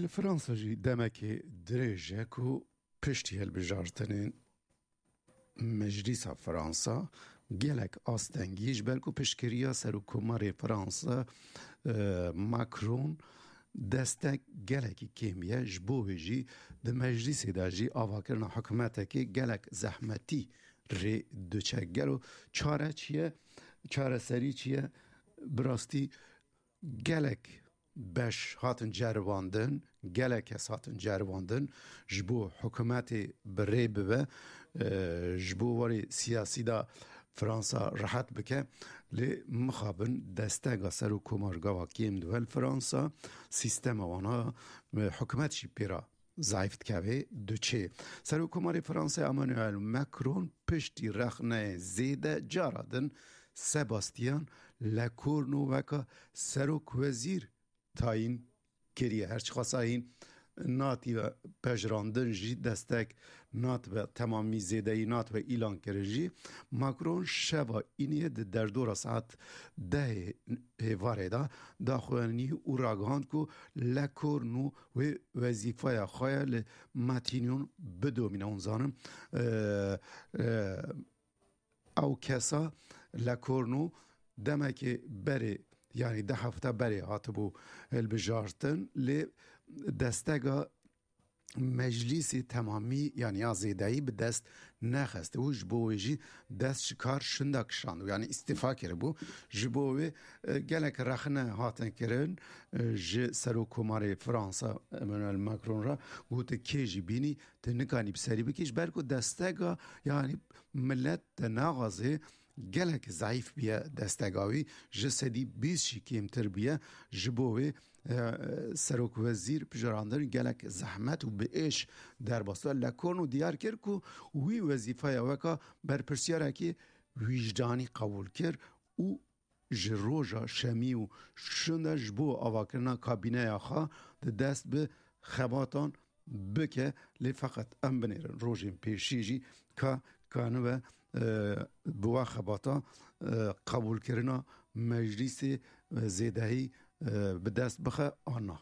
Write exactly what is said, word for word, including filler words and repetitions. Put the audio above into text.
Fransa jî demekê dirêj e ku piştî hilbijartinên Meclîsa Fransa gelek astengî ji ber ku piştgiriya Serokkomarê Fransa, e, Macron destek gelekî kêmî ye. Ji bo wê jî di meclîsê de jî avakirina hikûmetekê gelek zehmetî rê diçe. Gelo çare çi ye? Çareserî çi ye? Bi rastî gelek beş hatin ceribandin, gelek kes hatin ceribandin ji bo hikûmetê bi rê bibe, e, ji bo warê siyasî de Fransa rehet bike. Lê mixabin destega serokkomar gava kêm dibe li Fransa, sîstema wana, e, hikûmet jî pê re zayîf dikeve, diçê. Serokkomarê Fransa Emmanuel Macron piştî rexneyê zêde cara din Sebastian Lecornu weke serokwezîr tayîn kiriye. Her çiqasa hîn natibe pejirandin jî, destek natibe temamî, zêdeyî natibe îlan kirin jî, Macron şeva îniyê di derdora saet dehê êvarê de daxuyanî û ragihand ku Lecornu wê wezîfeya xwe ya li Matignon bidomîne. Hûn zanin, e, e, ew kesa Lecornu demekê berê, yanî du hefte berê hatibû hilbijartin, lê destega meclîsê temamî, yanî ya zêdeyî bi dest nexistibû, ji bo wê jî dest ji kar şinda kişandibû, yanî îstîfa kiribû. Ji bo wê, e, gelek rexne hatin kirin, e, ji Serokkomarê Fransa Emmanuel Macron re, gotin kê jî bînî, tu nikanî bi serî bikî, ji ber ku destega, yanî milet te naxwazê, gelek zayîf bûye destega wî, ji sedî bîst jî kêmtir bûye. Ji bo wê, e, serokwezîr pijirandin gelek zehmet û bi êş derbas da. Lecornu diyar kir ku wî wezîfeya weka berpirsiyareke wîcdanî qebûl kir û ji roja şemî û şûnde ji bo avakirina kabîneya xwe di dest bi xebatan bike, lê feqet em binêrin rojên pêşî jî ka kanibe, e, bi wa xebata, e, qebûlkirina meclîsê, e, zêdehî, e, bi dest bixe an na.